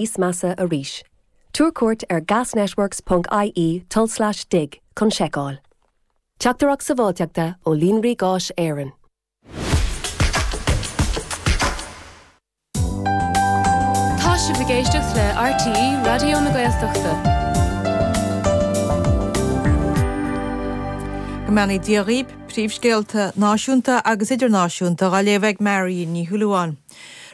Níos measa arís. Tabhair cuairt ar gasnetworks ponc ie tulslais dig chun seiceáil. Teachtaireacht Sábháilteachta ó Líonraí Gáis Éireann. Tá sibh ag éisteacht le RTÉ Raidió na Gaeltachta. Go mbeannaí Dia dhaoib, príomhscéalta náisiúnta agus idirnáisiúnta á léamh ag Marion Ní Shúilleabháin.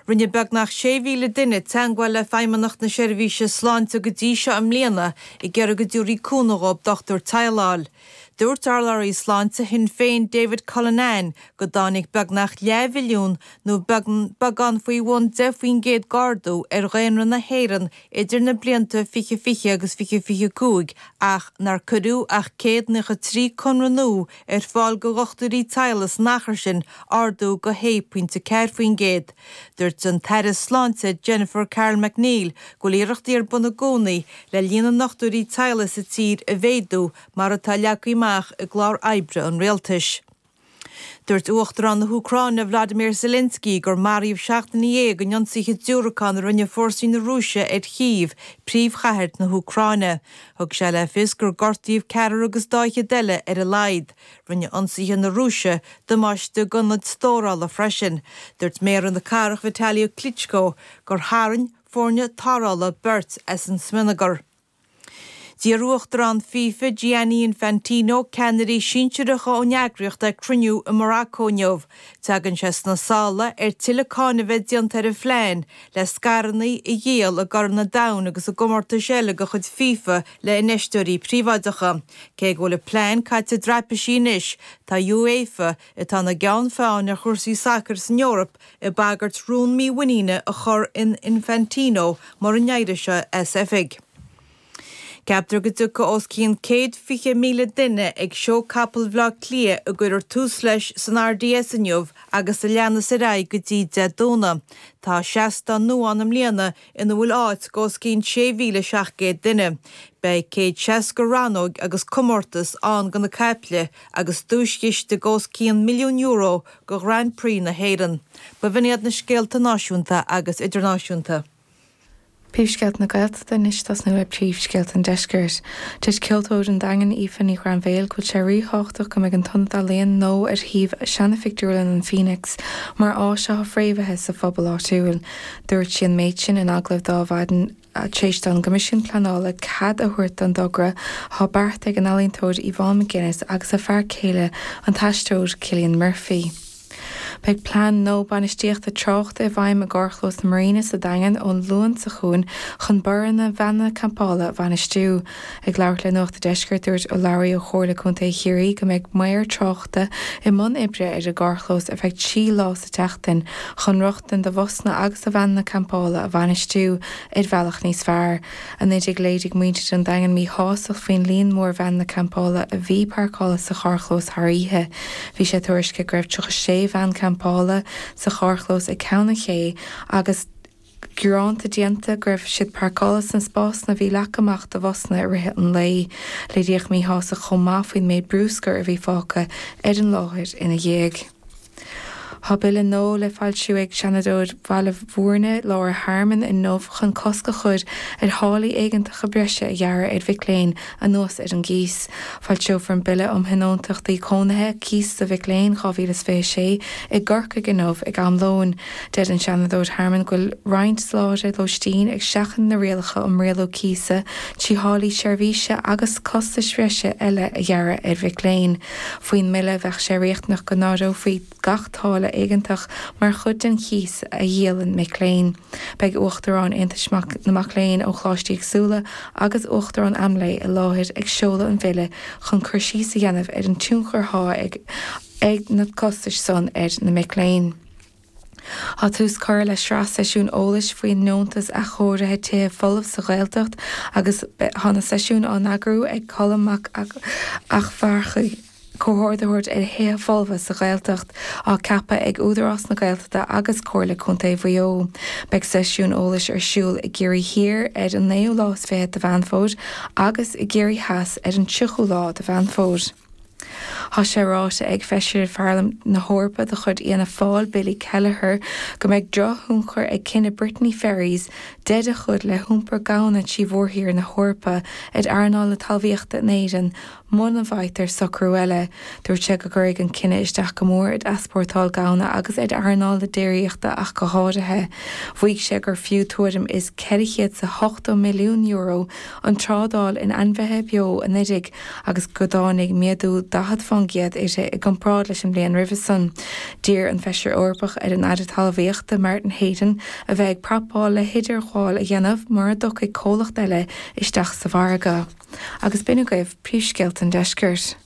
Rinne beagnach 6,000 duine teagmháil le Feidhmeannacht na Seirbhíse Sláinte go dtí seo i mbliana ag iarraidh go dtabharfaí cúnamh dhóibh dochtúir teaghlaigh a fháil. Dúirt urlabhraí sláinte Shinn Féin David Cullinane go dtáinig beagnach leathmhilliún nó beagán faoi bhun 10% d'ardú ar dhaonra na hÉireann idir na blianta 2020 agus 2025 ach nár cuireadh ach 193 conradh nua ar fáil go dhochtúirí teaghlaigh san achar sin, ardú go 6.4%. Dúirt an tAire Sláinte Jennifer Carroll MacNeill go bhfuil iarrachtaí ar bun i gcónaí le líon na ndochtúirí teaghlaigh sa tír a mhéadú mar atá leagtha amach i gclár oibre an rialtais. Dúirt Uachtarán na hÚcráine Vladimir Zelensky gur maraíodh 17 duine in ionsaithe diúracán a rinne fórsaí na Rúise ar Chív, príomhchathair na hÚcráine. Thug sé le fios gur gortaíodh ceathrar agus dá fhichead eile ar a laghad. Rinne ionsaithe na Rúise damáiste d'ionaid stórála freisin. Dúirt méara na cathrach Vitaliy Klitschko gur tharraing foirne tarrthála beirt as an smionagar. D'iarr Uachtarán FIFA Gianni Infantino ceannairí sinsearacha ón eagraíocht ag cruinniú i Morocco inniu. Tagann sé sna sála ar tuilleadh cáineadh a bheith déanta ar an phlean le scaireanna a dhíol i gCorn an Domhain agus i gcomórtais eile de chuid FIFA le infheisteoirí príobháideacha. Cé go bhfuil an plean caite i dtraipisí anois, tá UEFA, atá ina gceann feadhain ar chúrsaí sacair san Eoraip, ag bagairt rún mímhuiníne a chur in Infantino mura n-éireoidh sé as oifig. Ceaptar go dtiocfaidh os cionn 120,000 duine ag Seó Capall Bhaile Átha Cliath a gcuirfear tús leis san RDS inniu agus a leanas ar aghaidh go dtí Dé Domhnaigh. Tá seastán nua ann i mbliana ina bhfuil áit do os cionn 6,700 duine. Beidh 160 rannóg agus comórtas ann do na caiple agus duaischiste de os cionn €1 milliún do Ghrand Prix na hÉireann. B'in iad na scéalta náisiúnta agus idirnáisiúnta. Príomhscéalta na Gaeltachta anois ag tosnú le príomhscéalta an Deiscirt. Deir ceoltóir an Daingin Aoife Ní Ghrainbhéil go bhfuil sé ríthábhachtach go mbeidh an t-ionad ealaíon nua ar shuíomh seana-phictiúrlann an Phoenix mar áis atá fréamhaithe sa phobal áitiúil. Dúirt sí an méid sin in agallamh d'Adhmhaidin tar éis don gCoimisiún Pleanála cead a thabhairt don dtogra atá beartaithe ag an ealaíontóir Yvonne McGuinness agus a fear céile an t-aisteoir Cillian Murphy. Beidh plean nua bainistíochta tráchta i bhfeidhm i gcarrchlós na Marina sa Daingean ón Luan seo chugainn chun borradh na veaineanna campála a bhainistiú. Ag labhairt le Nuacht a' Deiscirt dúirt urlabhraí ó Chomhairle Contae Chiarraí go mbeidh maor tráchta i mbun oibre ar an gcarrchlós ar feadh 3 lá sa tseachtain chun rochtain do bhusanna agus do veaineanna campála a bhainistiú ar bhealach níos fearr. 19 Léirigh muintir an Daingin míshástacht faoin líon mór veaineanna campála a bhí páirceáilte sa charrchlós thar oíche. Bhí sé tuairiscithe go raibh 36 veain campála sa charrchlós ag Ceann an Ché agus gearánta déanta go raibh siad páirceáilte sna spásanna a bhí leagtha amach do bhusanna i rith an lae. Léiríodh míshástacht chomh maith faoin méid brúscair a bhí fágtha ar an láthair ina dhiaidh. Tá bille nua le foilsiú ag Seanadóir Bhaile Bhúirne, Laura Harmon, inniu chun cosc a chur ar tháillí éigeantacha breise a ghearradh ar mhic léinn anuas ar an gcíos. Foilseofar an Bille um Thionóntachtaí Cónaithe, Cíos do Mhic Léinn, 2026 i gCorcaigh inniu ag am lóin. Deir an Seanadóir Harmon go bhfuil roinnt soláthraithe lóistín ag seachaint na rialacha um rialú cíosa trí tháillí seirbhíse agus costais bhreise eile a ghearradh ar mhic léinn. Faoin mbille, bheadh sé riachtanach go n-áireofaí gach táille éigeantach mar chuid den chíos a dhíolann mic léinn. Beidh Uachtaráin Aontais na Mac Léinn ó choláistí éagsúla agus Uachtarán Amlé i láthair ag seoladh an bhille chun cur síos a dhéanamh ar an tionchar atá ag na costais san ar na mic léinn. Tá tús curtha le sraith seisiún eolais faoin nDeontas Athchóirithe Tithe Folamh sa Ghaeltacht agus tá na seisiúin á n-eagrú ag Colm Mac Eachmharcaigh, Comhordaitheoir ar Thithe Folmha sa Ghaeltacht, á ceapadh ag Údarás na Gaeltachta agus Comhairle Contae Mhaigh Eo. Beidh seisiún eolais ar siúl i gCiarraí Thiar ar an naoú lá is fichead de Mheán Fómhair agus i gCiarraí Theas ar an tríochú lá de Mheán Fómhair. Tá sé ráite ag Feisire Pharlaimint na hEorpa de chuid Fhianna Fáil, Billy Kelleher, go mbeidh drochthionchar ag cinneadh Brittany Ferries deireadh a chur le hiompar gamhna trí mhórthír na hEorpa ar earnáil na talmhaíochta in Éirinn muna bhfaightear socrú eile. Dúirt sé go gcuirfidh an cinneadh isteach go mór ar easpórtáil gamhna agus ar earnáil na déiríochta ach go háirithe. Mhaígh sé gur fiú tuairim is €480 milliún an trádáil in ainmhithe beo anuraidh agus go dtáinig méadú 40% uirthi i gcomparáid leis an mbliain roimhe san. D'iarr an Feisire Eorpach ar an Aire Talmhaíochta Martin Heydon a bheith ag prapáil le hidirghabháil a dhéanamh mura dtiocfaidh comhlacht eile isteach sa mhargadh. Agus b'in agaibh príomhscéalta an deiscirt.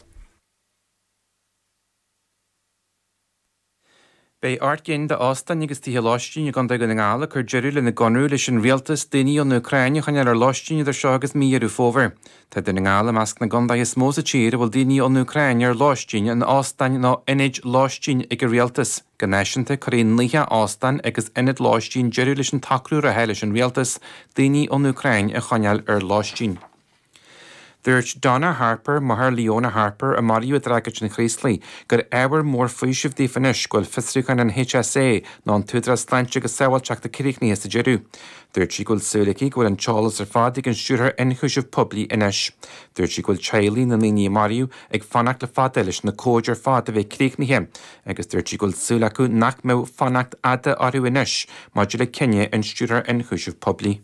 Beidh 8 gcinn d'óstáin agus tithe lóistín i gContae Dhún na nGall ag cur deireadh lena gconradh leis an rialtas daoine ón Úcráin a choinneáil ar lóistín idir seo agus mí Dheireadh Fómhair. Tá Dún na nGall i measc na gcontaetha is mó sa tír a bhfuil daoine ón Úcráin ar lóistín in óstáin nó ionaid lóistín ag an rialtas. Go náisiúnta, cuirfidh 90 óstán agus ionad lóistín deireadh leis an tsocrú reatha leis an rialtas daoine ón Úcráin a choinneáil ar lóistín. Dúirt Donna Harper, máthair Leona Harper, a maraíodh i dtragóid an Chraoslaigh, gur ábhar mór faoisimh daofa anois go bhfuil fiosrúchán an HSA, nó an tÚdarás Sláinte agus Sábháilteachta críochnaithe sa deireadh. Dúirt sí go bhfuil súil aici go bhfuil an t-eolas ar fad ag an Stiúrthóir Ionchúiseamh Poiblí anois. Dúirt sí go bhfuil teaghlaigh na ndaoine a maraíodh ag fanacht le fada leis na comhaid ar fad a bheith críochnaithe agus dúirt sí go bhfuil súil acu nach mbeidh fanacht fhada orthu anois maidir le cinneadh an Stiúrthóir Ionchúiseamh Poiblí.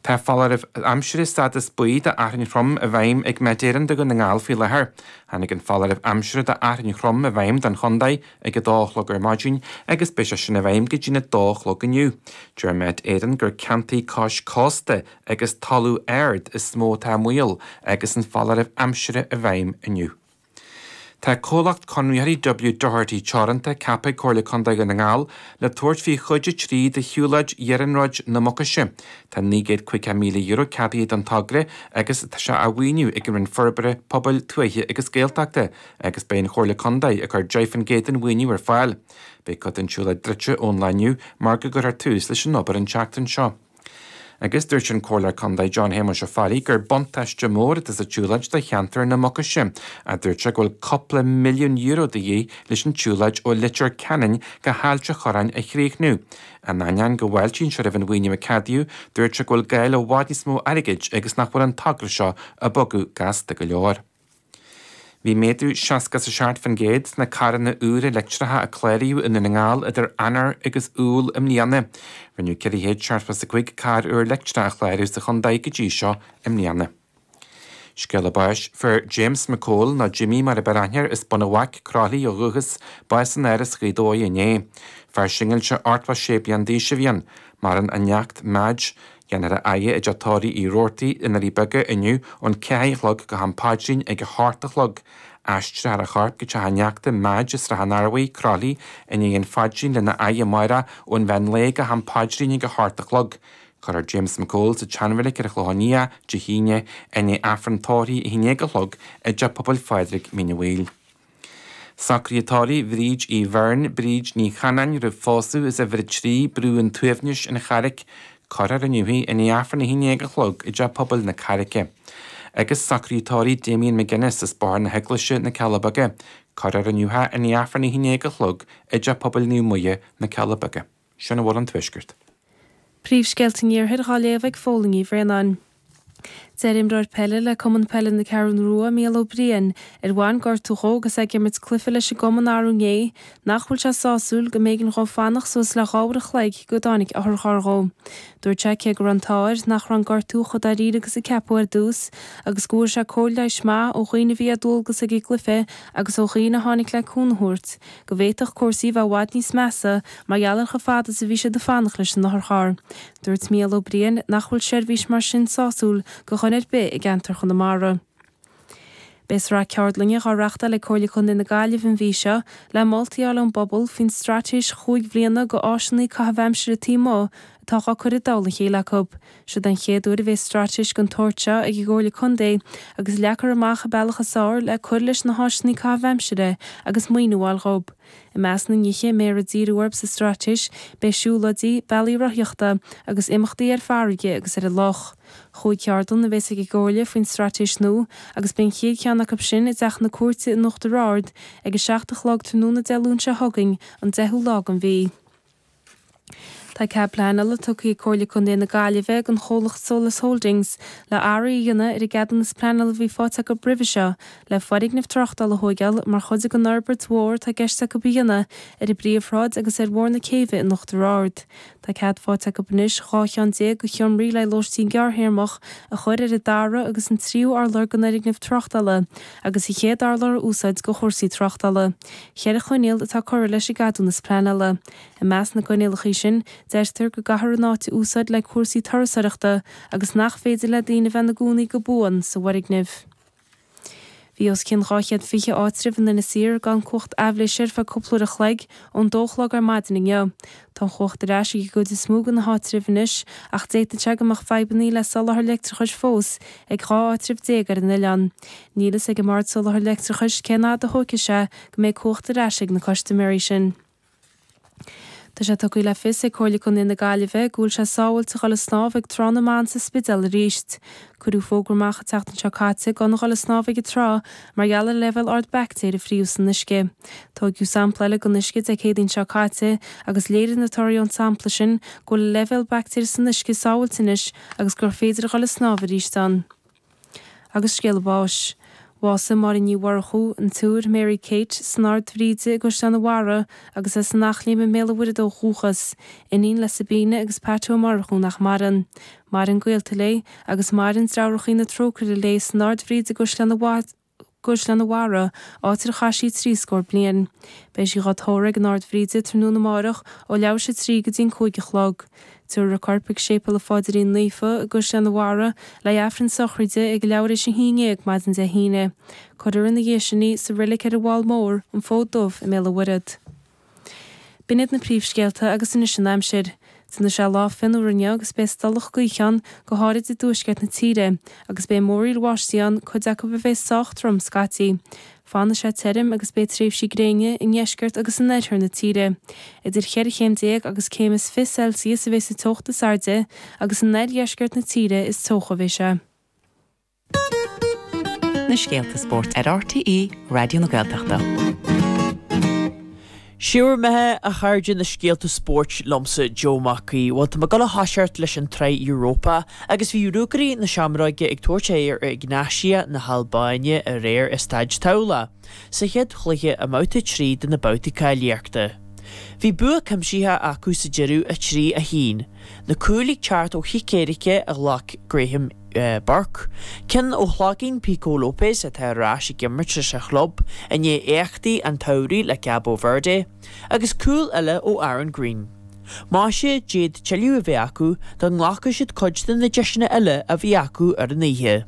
Tá foláireamh aimsire stádas buí do fhearthainn throm i bhfeidhm ag Met Éireann do Dhún na nGall faoi láthair. Tháinig an foláireamh aimsire do fhearthainn throm i bhfeidhm don chontae ag a dó a chlog ar maidin agus beidh sé sin i bhfeidhm go dtí'n 2 a chlog inniu. Deir Met Éireann gur ceantair cois cósta agus talamh ard is mó atá i mbaol agus an foláireamh aimsire i bhfeidhm inniu. Tá comhlacht conraitheoirí W Doherty Teoranta ceaptha ag Comhairle Contae Dhún na nGall le tabhairt faoi chuid 3 de shiúlóid Iarnróid na Mucaise. Tá €950,000 ceadaithe don togra agus tá sé á mhaoiniú ag an Roinn Forbartha Pobail, Tuaithe agus Gaeltachta agus beidh an Chomhairle Contae ag cur 10% den mhaoiniú ar fáil. Beidh cuid den tsiúlóid druidte ón lá inniu mar go gcuirfear tús leis an obair an tseachtain seo. Agus dúirt an Comhairleoir Contae John Shéamuis Ó Fearraigh gur buntáiste mór atá sa tsiúlóid do cheantar na Mucaise ach dúirt sé go bhfuil cúpla milliún euro de dhíth leis an tsiúlóid ó Leitir Ceanainn go hAilt a' Chorráin a chríochnú. In ainneoin go bhfáiltíonn sé roimh an mhaoiniú a ceadaíodh, dúirt sé go bhfuil gá le i bhfad níos mó airgid agus nach bhfuil an togra seo ag bogadh gasta go leor. Bhí méadú 67% sna carranna úra leictreacha a cláraíodh i nDún na nGall idir Eanáir agus Iúil i mbliana. Rinneadh 475 carr úr leictreach a chlárú sa chontae go dtí seo i mbliana. Scéala báis, Fuair James McCole, nó Jimmy mar a b'fhearr aithne air, as Bun an Bhaic, Croithlí ó dhúchas, bás in Áras Ghaoth Dobhair inné. Fear singilte 86 bliain d'aois a bhí ann. Maireann a neacht, Madge, Déanfar a fhaire i dteach tórraimh Uí Robhartaigh i nDoirí Beaga inniu ón 4 a chlog go ham paidrín ag 8 a chlog. Aistreofar a chorp go teach a neachta, Madge, i Srath an Arbhaigh, Croithlí, i ndiaidh an phaidrín lena fhaire amárach ón mheán lae go ham paidrín ag 8 a chlog. Cuirfear James McCole sa tSeanreilig ar an Chlochán Liath, Dé hAoine, i ndiaidh Aifreann tórraimh 11 a chlog i dTeach Pobail Phádraig, Mín an Mhaoil. Socruithe tórraimh Bhríd Uí Bheirn, Bríd Ní Chanáin roimh phósadh as uimhir 3, Brú an tSuaimhnis, An Charraic. Cuirfear inniu í i ndiaidh Aifreann 11 a chlog i dTeach Pobail na Carraice. Agus socruithe tórraimh Damien McGuinness as Bóthar na hEaglaise, Na Cealla Beaga. Cuirfear inniu é i ndiaidh Aifreann 11 a chlog i dTeach Pobail Naomh Muire, Na Cealla Beaga. Sin a bhfuil ón Tuaisceart. Príomhscéalta an Iarthair dhá léamh ag Fódhla Ní Bhraonáin. Deir imreoir peile le Cumann Peile na Ceathrún Rua, Mícheál Ó Briain, ar bhain gortú dhó agus é ag imirt cluiche leis an gcumann arú inné, nach bhfuil sé sásúil go mb'éigean dhó fanacht suas le 2 uair a chloig go dtáinig otharcharr dhó. Dúirt sé cé go raibh an t-ádh air nach raibh an gortú chomh dáiríre agus a ceapadh ar dtús agus go bhfuair sé cóir leighis maith ó dhaoine a bhí ar dualgas ag an gcluiche agus ó dhaoine a tháinig le cúnamh a thabhairt, go bhféadfadh cúrsaí a bheith i bhfad níos measa mar gheall ar chomh fada is a bhí siad ag fanacht leis an otharcharr. Dúirt Mícheál Ó Briain nach bhfuil seirbhís mar sin sásúil do dhuine ar bith i gceantar Chonamara. Beidh sraith ceardlainne dhá reachtáil ag Comhairle Contae na Gaillimhe an mhí seo le moltaí a fháil ón bpobal faoin straitéis chúig bhliana do áiseanna caitheamh aimsire taobh amuigh atá. atá dhá cur i dtoll a chéile acu. Siod an chéad uair a bheas straitéis den tsórt seo ag an gComhairle Contae agus leagfar amach an bealach is fearr le cur leis na háiseanna caitheamh aimsire agus maoiniú a fháil dhób. I measc na nithe a mbeifear ag díriú orthu sa straitéis beidh siúlóidí, bealaí rothaíochta agus imeachtaí ar farraige agus ar an loch. Chúig cheardlann a bheas ag an gComhairle faoin straitéis nua agus beidh an chéad cheann acu sin i dTeach na Cúirte in Uachtar Ard ag 7 a chlog tráthnóna Dé Luain seo chugainn, an 10ú lá den mhí. Tá cead pleanála tugtha ag Comhairle Contae na Gaillimhe don chomhlacht Solas Holdings le athruithe a dhéanamh ar an gceadúnas pleanála a bhí faighte acu roimhe seo le foirgneamh tráchtála a thóigeáil mar chuid den fhorbairt mhór atá i gceist acu a dhéanamh ar an bPríomhshráid agus ar Bhóthar na Céibhe in Uachtar Ard. Tá cead faighte acu anois 12 cheann de sheomraí le lóistín gearrthéarmach a chur ar an dara agus an tríú urlár den fhoirgneamh tráchtála agus an chéad urlár a úsáid do chúrsaí tráchtála. Cheithre choinníoll atá curtha leis an gceadúnas pleanála. I measc na gcoinníollacha sin, deirtear go gcaithfear an áit a úsáid le cúrsaí turasóireachta agus nach féidir le daoine a bheith ina gcónaí go buan sa bhfoirgneamh. Bhí os cionn 220 áitreabh in Inis Oírr gan cumhacht aibhléise ar feadh cúpla uair a chloig ón dó a chlog ar maidin inniu. Tá an chumhacht ar ais ag an gcuid is mó de na háitribh anois ach d'fhéadfadh sé go mbeadh fadhbanna le soláthar leictreachais fós ag 12 áitreabh ar an oileán. Níl a fhios ag an mBord Soláthair Leictreachais cén fhad a thógfaidh sé go mbeidh cumhacht ar ais ag na custaiméirí sin. Tá sé tugtha le fios ag Comhairle Contae na Gaillimhe go bhfuil sé sábháilte a dhul ag snámh ag Trá na mBan sa Spidéal arís. Cuireadh fógra amach an tseachtain seo caite gan a dhul ag snámh ag an trá mar gheall ar leibhéal ard baictéar a fríothadh san uisce. Tóigeadh sampla eile den uisce Dé Céadaoin seo caite agus léirigh na torthaí ón sampla sin go bhfuil an leibhéal baictéar san uisce sábháilte anois agus gur féidir a dhul ag snámh arís ann. Agus scéala báis. Bhásaigh Máirín Ní Mhurchú, an tSiúr Mary Kate, san Ord Bhríde i gCaisleán an Bharraigh agus as an Eachléim i mBéal an Mhuirthead ó dhúchas, iníon le Sabina agus Pat Ó Murchú nach maireann. Maireann gaolta léi agus maireann Deartháireacha na Trócaire léi san Ord Bhríde i gCaisleán an gCaisleán an Bharraigh, áit ar chaith sí trí scór bliain. Beidh sí dhá tórramh ag an Ord Bhríde tráthnóna amáireach ó leathuair tar éis a 3 go dtí an 5 a chlog. Tabharfar a corp ag Séipéal an Pháidrín Naofa i gCaisleán an Bharraigh le Aifreann sochraide ag leathuair tar éis a 11 maidin Dé hAoine. Cuirfear ina dhiaidh sin í sa reilig ar an bhFál Mór, an Fód Dubh i mBéal an Mhuirthead. B'in iad na príomhscéalta agus anois an aimsir. Déanfaidh sé lá fionnuar inniu agus beidh stolladh gaoithe ann, go háirid i dtuaisceart na tíre, agus beidh múraíl bháistí ann, cuid acu a bheidh sách trom scaití. Fanfaidh sé tirim agus beidh tréimhsí gréine i ndeisceart agus in oirthear na tíre. Idir cheithre chéim déag agus céim is 20 Celsius a bheidh sa teocht is airde agus in oirdheisceart na tíre is teocha a bheidh sé. Na scéalta spóirt ar RTÉ Raidió na Gaeltachta. Siúr maith a chairde na scéalta spóirt liomsa Joe Mac Aoidh. Bhuel tá mé ag dul a thoiseacht leis an tSraith Europa agus bhí Ruagairí na Seamróige ag tabhairt aghaidh ar Egnatia na hAlbáine aréir i Staid Tamhlach sa chéad chluiche i mbabhta 3 de na babhtaí cáilíochta. Bhí bua cuimsitheach acu sa deireadh 3, 1. Na cúil ag teacht ó chic éirice a ghlac Graham Burke, ceann ó shlaigín Pico Lopes atá ar ais ag imirt leis an chlub i ndiaidh éachtaí an tsamhraidh le Cabo Verde, agus cúl eile ó Aaron Greene. Maise, d'fhéadfadh tuilleadh a bheith acu dá nglacfadh siad cuid de na deiseanna eile a bhí acu ar an oíche.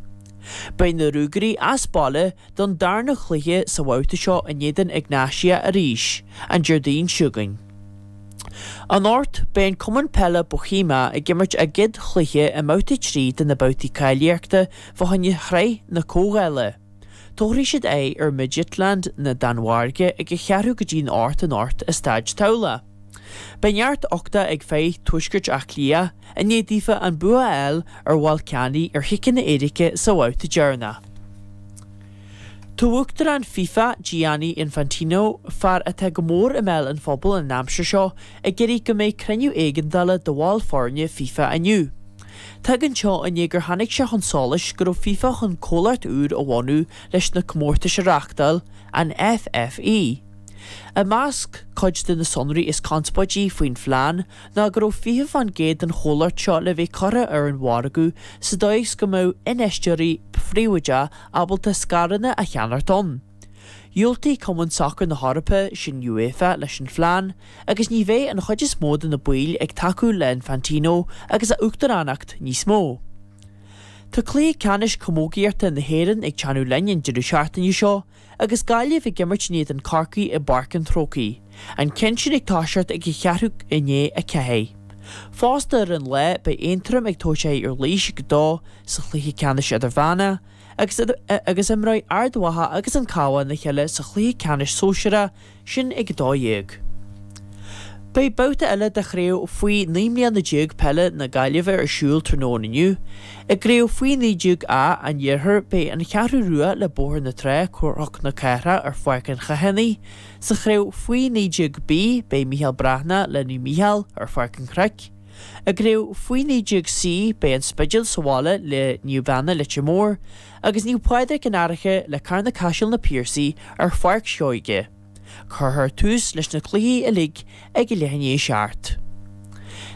Beidh na Ruagairí as baile don darna chluiche sa bhabhta seo in éadan Egnatia arís an Déardaoin seo chugainn. Anocht, beidh an cumann peile Bohemia ag imirt a gcéad chluiche i mbabhta 3 de na babhtaí cáilíochta fá choinne Shraith na Comhdhála. Tabharfaidh siad aghaidh ar Midtjylland na Danmhairge ag a cheathrú go dtí'n 8 anocht i Staid Tamhlach. Beidh neart uchta ag fir Tuaisceart Átha Cliath i ndiaidh daofa an bua a fháil ar Bhalkani ar chiceanna éirice sa bhabhta deireanach. Tá Uachtarán FIFA, Gianni Infantino, fear atá go mór i mbéal an phobail an aimsir seo, ag iarraidh go mbeidh cruinniú éigeandála de bhaill foirne FIFA inniu. Tagann seo i ndiaidh gur tháinig sé chun solais go raibh FIFA chun comhlacht úr a bhunú leis na comórtais a reáchtáil, an FFE. I measc cuid de na sonraí is conspóidí faoin phlean ná go raibh 20% den chomhlacht seo le bheith curtha ar an mhargadh sa dóigh is go mbeadh infheisteoirí príobháideacha ábalta scaireanna a cheannacht ann. Dhiúltaigh Cumann Sacair na hEorpa, sin UEFA, leis an phlean, agus ní bheidh an chuid is mó de na baill ag tacú le Infantino agus a uachtaránacht níos mó. Tá cluiche ceannais camógaíochta na hÉireann ag teannadh linn an deireadh seachtaine seo agus Gaillimh ag imirt in éadan Corcaí i bPáirc an Chrócaigh, an ceann sin ag toiseacht ag a cheathrú i ndiaidh a 4. Fosta ar an lá, beidh Aontroim ag tabhairt aghaidh ar Laois ag 2 sa chluiche ceannais idirmheánach agus agus imreoidh Ard Mhacha agus an Cabhán a chéile sa chluiche ceannais sóisearach, sin ag 12. Beidh babhta eile de chraobh faoi 19 mbliana peile na Gaillimhe ar siúl tráthnóna inniu. I gcraobh faoi 19 A an Iarthair beidh an Cheathrú Rua le Bóthar na Trá, Cnoc na Cathrach ar Pháirc an Chathánaigh. Sa chraobh faoi 19 B beidh Mícheál Breathnach le Naomh Mícheál ar Pháirc an Chnoic. I gcraobh faoi 19 C beidh an Spidéal sa bhaile le Naomh Anna Leitir Móir agus Naomh Pádraig an Fhairche le Carna Caiseal Na Piarsaigh ar Pháirc Seoige. Cuirfear tús leis na cluichí uilig ag a leath i ndiaidh a 7.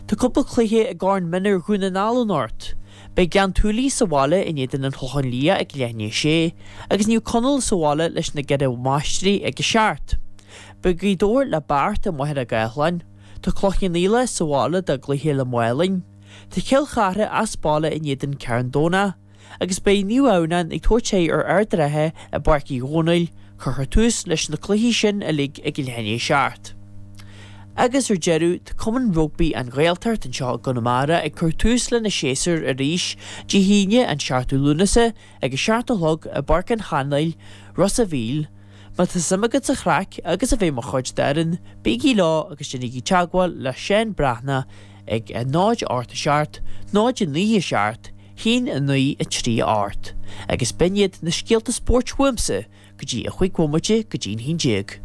Tá cúpla cluiche i gCorn Mionúir Dhún na nGall anocht. Beidh Gleann tSúilí sa bhaile in éadan an Chlocháin Liath ag leath i ndiaidh a sé agus Naomh Conaill sa bhaile leis na gCeithre Máistrí ag a 7. Beidh Gaoth Dobhair le Beart i Machaire Gathlán. Tá Cloich Cheann Fhaola sa bhaile dá gcluiche le Málainn. Tá Cill Chartha as baile in éadan Carn Domhnach. agus beidh Naomh Adhamhnáin ag tabhairt aghaidh ar Ard an Rátha i bPáirc Uí Dhónaill, cuirfear tús leis na cluichí sin uilig ag leath i ndiaidh a 7. Agus ar deireadh, tá Cumann Rugbaí An Ghaeltacht anseo i gConamara ag cur tús lena séasúr arís Dé hAoine an 7ú Lúnasa ag a 7 a chlog i bPáirc an Chainéil, Ros a' Mhíl. Má tá suim agat sa chraic agus a bheith mar chuid d'fhoireann, bígí leo agus déanaigí teagmháil le Seán Breathnach ag 0 8 7 0 9 7 1 9 3 8 Agus b'in iad na scéalta spóirt uaimse go dtí a chúig bhomaite go dtí'n 11.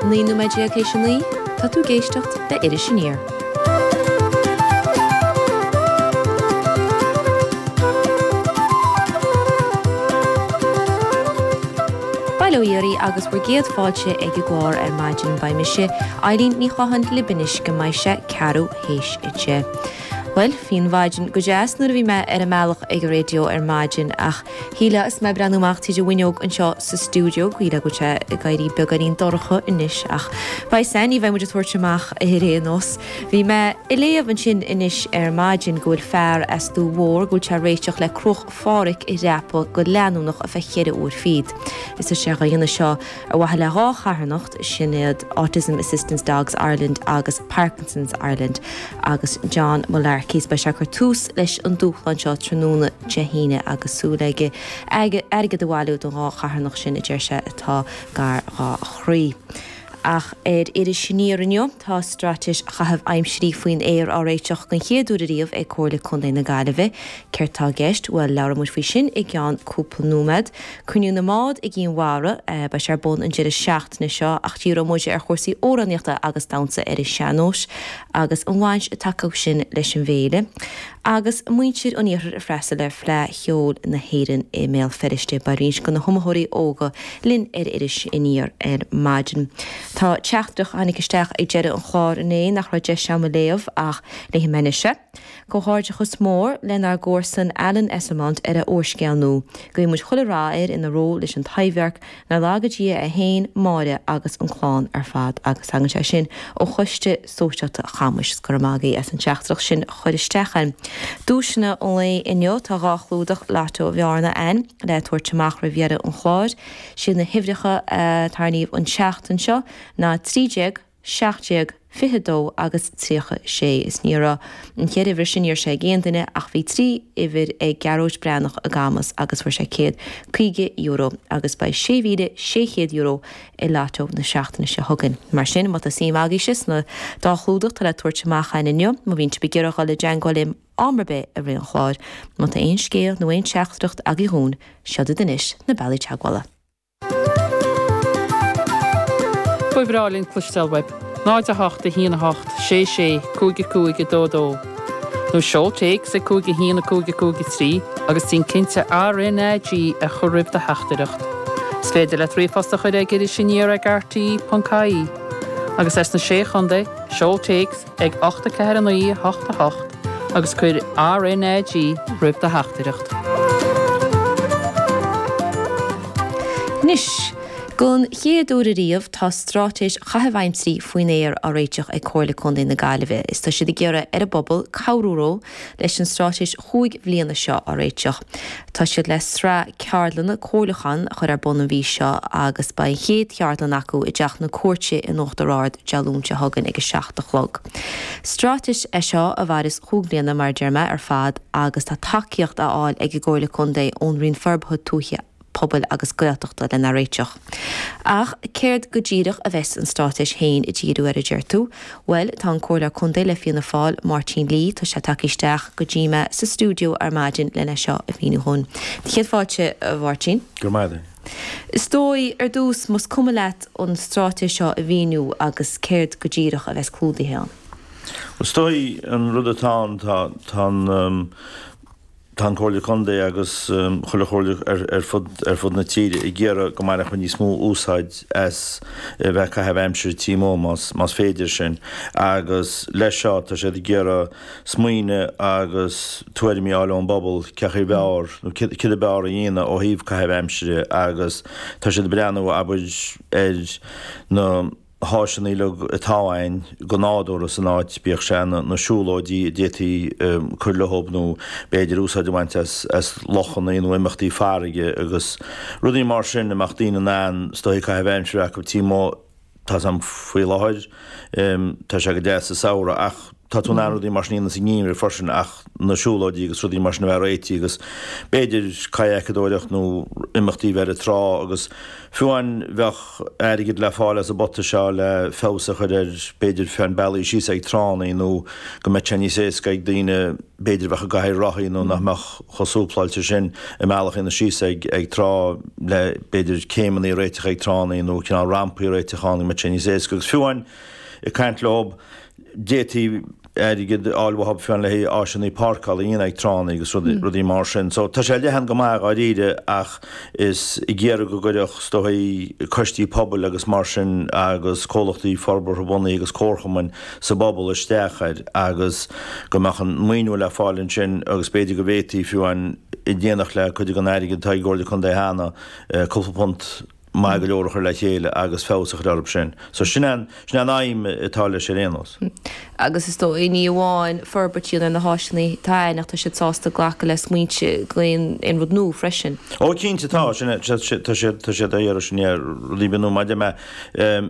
19 nóiméad théis a 9, tá tú ag éisteacht le Iris Aniar. Bail ó Dhia oraibh agus bhur gcéad fáilte ag an gclár ar maidin. Beidh mise, Eileen Ní Chatháin, libh anois go mbeidh sé ceathrú théis a deich. Bhuel, bhí an mhaidin go deas nuair a bhí mé ar an mbealach ag an raidió ar maidin ach shílfeá is mé ag breathnú amach tríd an bhfuinneog anseo sa stiúideo go shílfeá go bhfuil sé ag éirí beagáinín dorcha anois ach beidh san, ní bheidh muid ag tabhairt amach ar aon nós. Bhí mé ag léamh ansin anois ar maidin go bhfuil fear as Dumha Mhór go bhfuil sé ag réiteach le Cruach Phádraig a dhreapadh go leanúnach ar feadh cheithre uair fichead. Is tá sé á dhéanamh seo ar mhaithe le dhá charthanacht, sin iad Autism Assistance Dogs Ireland agus Parkinson's Ireland agus John Mullarkey. Beidh sé ag cur tús leis an dúshlán seo tráthnóna Dé hAoine agus súil aige airgead a bhailiú don dhá charthanacht sin a deir sé atá gar dhá chroí. Ach ar Iris Aniar inniu, tá straitéis chaitheamh aimsirí faoin aer á réiteach den chéad uair ariamh ag Comhairle Contae na Gaillimhe. Céard tá i gceist? Bhuel, labhróidh muid faoi sin i gceann cúpla nóiméad. Cruinniú na mBád i gCinn Mhara, beidh sé ar bun an deireadh seachtaine seo ach díreoidh muid ar chúrsaí amhránaíochta agus damhsa ar an sean-nós agus an bhaint atá acu sin leis an bhféile. Agus muintir an iarthair ag freastal ar Fleadh Cheoil na hÉireann i mBéal Feirste, beidh roinnt de na hiomaitheoirí óga linn ar Iris Aniar ar maidin. Tá teachtaireacht a tháinig isteach ag deireadh an chláir inné nach raibh deis agam a léamh ach léifidh mé anois é. Comhghairdeachas mór lenár gcomharsan Alan Esslemont ar a úrscéal nua. Guíonn muid chuile rath air ina ról leis an Taibhdhearc Nár laga Dia é féin, Máire agus an clann ar fad agus tagann sé sin ó Choiste Sóisialta Chamuis. Go raibh maith agaibh as an teachtaireacht sin a chur isteach a'inn. Duaiseanna an lae inniu, tá 2 chlúdach Lotto Bhearna a'inn le tabhairt amach roimh dheireadh an chláir. Siad na huimhreacha a tarraingíodh an tseachtain seo ná 13, 17, 22 agus 36. Is ní raibh an cheithre uimhir sin, ní raibh sé ag aon duine ach bhí 3 uimhir ag Gearóid Breathnach i gCamus agus fuair sé €150 agus beidh €6,600 i Lotto na seachtaine seo chugainn. Mar sin, má tá suim agaibhse sna dá chlúdach atá le tabhairt amach againn inniu, má bhíonn sibh ag iarraidh dhul i dteangmháil linn am ar bith i rith an chláir, má tá aon scéal nó aon teachtaireacht agaibh dhúinn, seod iad anois na bealaí teagmhála. Ba bhreá linn cloisteáil uaibh. 0 8 1 8 6 6 5 5 2 2 Nó seol téacs ag 5 1 5 5 3 agus déan cinnte RNAG a chur roimh do theachtaireacht. Is féidir leat ríomhphost a chur ag irisaniar ag rte.ie. Agus as na Sé Chontae, seol téacs ag 8 4 9 8 8 agus cuir RnaG roimh do theachtaireacht. Anois, Don chéad uair ariamh tá straitéis chaitheamh aimsirí faoin aer á réiteach ag Comhairle Contae na Gaillimhe is tá siad ag iarraidh ar an bpobal cabhrú leo leis an straitéis chúig bhliana seo á réiteach. Tá siad le sraith ceardlanna comhairliúcháin a chur ar bun an mhí seo agus beidh an chéad cheardlann acu i dTeach na Cúirte in Uachtar Ard Dé Luain seo chugainn ag a 7 a chlog. Straitéis é seo a mhairfeas chúig bhliana mar a deir mé ar fad agus tá tacaíocht á fháil ag an gComhairle Contae ón Roinn Forbartha Tuaithe, Pobail agus Gaeltachta lena réiteach. Ach céard go díreach a bheas an straitéis féin ag díriú air a deir tú? Bhuel, tá an Comhairleoir Contae le Fianna Fáil, Máirtín Lee, tá sé tagtha isteach go dtí mé sa stiúideo ar maidin lena seo a mhíniú dhúinn. Céad fáilte, a Mháirtín. Go raibh maith agat. Is dóigh, ar dtús, más cuma leat an straitéis seo a mhíniú agus céard go díreach a bheas clúdaithe ann. Is dóigh an rud atá ann, tá, tá an, tá an Comhairle Contae agus chuile chomhairle ar fud, ar fud na tíre ag iarraidh go mbainfeadh muid níos mó úsáid as a bheith ag caitheamh aimsire taobh amuigh más, más féidir sin. Agus leis seo tá siad ag iarraidh smaoineamh agus tuairimí a fháil ón bpobal cén chaoi ab fhearr nó céard ab fhearr a dhéanamh ó thaobh caitheamh aimsire agus tá siad ag breathnú abair ar na háiseanna uilig atá againn go nádúrtha san áit, bíodh sé na siúlóidí a d'fhéadfaí cur leob nó b'fhéidir úsáid a bhaint as lochanna nó imeachtaí farraige agus rudaí mar sin a mbeadh daoine in ann is dóigh caitheamh aimsire acu taobh amuigh. Tá 's a'm faoi láthair, tá sé go deas sa samhradh ach tá tú in ann rudaí mar sin a dhéanamh sa ngeimhreadh freisin ach na siúlóidí agus rudaí mar sin a bheith réitithe agus b'fhéidir cadhacadóireacht nó imeachtaí a bheith ar an trá agus fiú amháin bheadh airgead le fáil as an bpota seo le feabhas a chur ar b'fhéidir fiú amháin bealaí síos ag tránna nó go mbeadh sé níos éasca ag daoine b'fhéidir a bheadh i gcathaoir rothaí nó nach mbeadh chomh súpláilte sin a mbealach a dhéanamh síos ag ag trá le b'fhéidir céimeanna a réiteach ag tránna nó cineál rampaí a réiteach ann go mbeadh sé níos éasca agus fiú amháin ag caint leob d'fhéadfaí airgead a fháil uathub fiú amháin le haghaidh áiseanna páirceála a dhéanamh ag tránna agus rudaí mar sin. So tá sé leathan go maith dháiríre ach is ag iarraidh go gcuirfeadh is dóigh coistí pobail agus mar sin agus comhlachtaí forbartha bunaithe agus comharchumainn sa bpobal isteach air agus go mbeadh an maoiniú le fáil ansin agus b'fhéidir go bhféadfaí fiú amháin in éineacht le cuid den airgead atá ag an gComhairle Contae cheana cúpla punt maith go leor a chur le chéile agus feabhas a chur orthu sin. So sin an, sin an aidhm atá leis ar aon nós. Agus is dóigh, ní amháin forbairt a dhéanamh ar na háiseanna atá ann ach tá siad sásta glacadh le smaointe go aon, aon rud nua freisin. Ó cinnte tá, sin é, tá siad, tá siad á iarraidh sin, yeah, rudaí beaga nua maidir le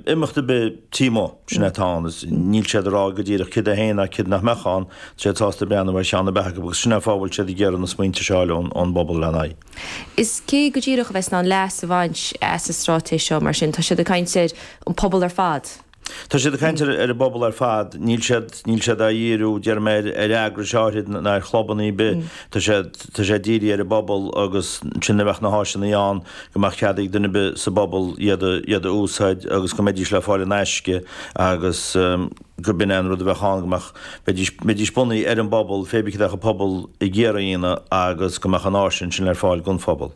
imeacht ar bith taobh amuigh, sin é atá ann. Is níl siad ag rá go díreach céard é féin ná céard nach mbeadh ann, tá siad sásta breathnú ar cheann ar bith acu agus sin é an fáth a bhfuil siad ag iarraidh na smaointe seo a fháil ón, ón bpobal lena aghaidh. Is cé go díreach a bheas in ann leas a bhaint as an straitéis seo mar sin? Tá siad ag caint ar an pobal ar fad. Tá siad ag caint ar an bpobal ar fad. Níl siad, níl siad á dhíriú, déarfaidh mé, ar, ar eagrais áirithe ná ar chlubanna ar bith. Tá sé, tá sé dírithe ar an bpobal agus ansin a bheadh na háiseanna ann go mbeadh cead ag duine ar bith sa bpobal iad a, iad a úsáid agus go mbeidís le fáil in aisce agus. go b'in é an rud a bheadh ann, go mbeadh, bheidís, bheidís bunaithe ar an bpobal, pé bith cad a bheadh an pobal ag iarraidh a dhéanamh agus go mbeadh an áis ansin ar fáil don phobal.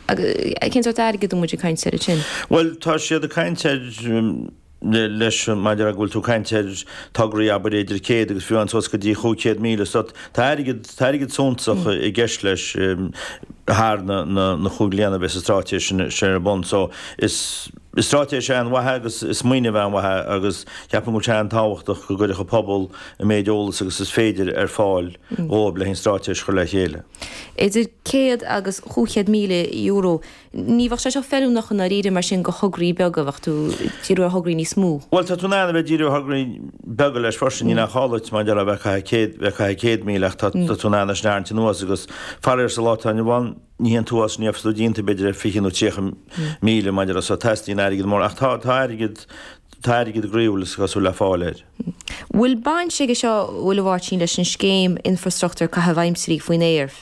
Agus cén sórt airgid a bhfuil muid ag caint air ansin? Bhuel, tá siad ag caint ar, leis, maidir le go bhfuil tú ag caint ar tograí abair idir 100 agus fiú amháin suas go dtí 500,000 so tá airgead, tá airgead suntasach i gceist leis thar na, na, na chúig bliana a bheas an straitéis sin, sin ar bun. So is. Is straitéis an-mhaith é agus is smaoineamh an-mhaith é agus ceapaim go bhfuil sé an-tábhachtach go gcuirfeadh an pobal an méid eolas agus is féidir ar fáil dhóibh le an straitéis a chur le chéile. Idir €100 agus €500,000, ní bheadh sé seo feiliúnach i ndáiríre mar sin do thograí beaga, bheadh tú ag díriú ar thograí níos mó. Bhuel, tá tú in ann a bheith ag díriú ar thograí beaga leis freisin, níl aon chall duit mar a déarfá a bheith ag caitheamh céad, bheith ag caitheamh 100,000 ach tá tú in ann é sin a tharraingt anuas agus faraor sa lá atá inniu ann, Ní haon t-uafás ní bheadh tú déanta b'fhéidir ar 20 nó 30 míle maidir le so teastaíonn airgead mór ach tá tá airgead tá airgead groíúil is cosúil le fáil air. Bhfuil baint aige seo bhfuil a Mháirtín leis an scéim infrastruchtúr caitheamh aimsirí faoin aer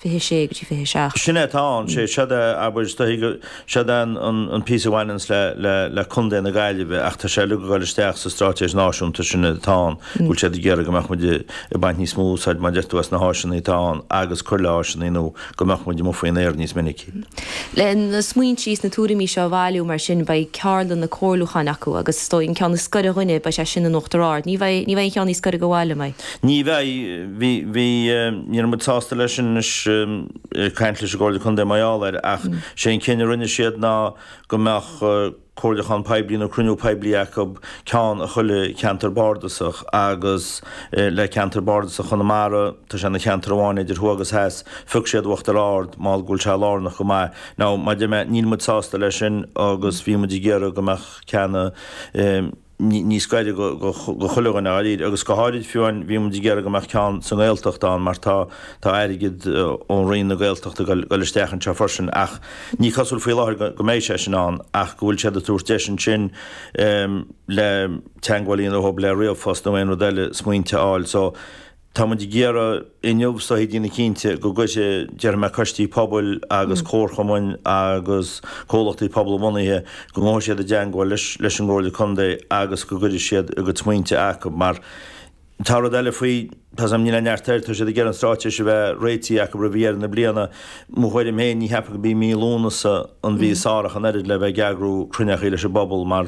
26 go dtí 27? Sin é atá ann, sé seod é abair is dóichí go seod é an an píosa a bhaineanns le le le Contae na Gaillimhe ach tá sé uilig ag dul isteach sa straitéis náisiúnta sin atá ann go bhfuil siad ag iarraidh go mbeadh muid ag baint níos mó úsáid mar a deir tú as na háiseanna atá ann agus cur le háiseanna nua go mbeadh muid amuigh faoin aer níos minicí. Le na smaointe is na tuairimí seo a bhailiú mar sin beidh ceardlanna comhairliúcháin acu agus is dóigh an ceann is gaire dhuinne beidh sé sin in Uachtar Ard. Ní bheidh, ní bheidh an cheann níos gaire go bhaile, an mbeidh? Ní bheidh. Bhí, bhí, ní raibh muid sásta leis sin anois. ag caint leis an gComhairle Contae mar gheall air ach sé an cinneadh a rinne siad ná go mbeadh comhairliúchán poiblí nó cruinniú poiblí acu, ceann i chuile cheantar bardasach agus le ceantar bardasach Chonamara, tá sé ina cheantar amháin idir thuaidh agus theas, phioc siad Uachtar Ard mar go bhfuil sé lárnach go maith. Now, mar a deir mé, níl muid sásta leis sin agus bhí muid ag iarraidh go mbeadh ceann níos gaire do chuile dhuine dháiríre agus go háirid fiú amháin bhí muid ag iarraidh go mbeadh ceann sa nGaeltacht ann mar tá tá airgead ón Roinn na Gaeltachta ag dul isteach anseo freisin ach ní cosúil faoi láthair go mbeidh sé sin ann ach go bhfuil siad ag tabhairt deis ansin le teagmháil a dhéanamh leo le ríomhphost nó aon rud eile smaointe a fháil so Tá muid ag iarraidh inniu is dóichí déanamh cinnte go gcuirfidh, déarfaidh mé, coistí pobail agus comharchumainn agus comhlachtaí pobalbhunaithe, go ngabhfaidh siad i dteangmháil leis leis an gComhairle Contae agus go gcuirfidh siad a gcuid smaointe acu mar tá rud eile faoi, tá 's agam níl aon neart air, tá siad ag iarraidh an straitéis a bheith réitithe acu roimh dheireadh na bliana. Mo thuairim féin, ní cheapaim go b'í mí Lúnasa an mhí is fearr ach an oiread le bheith ag eagrú cruinneachaí leis an bpobal mar.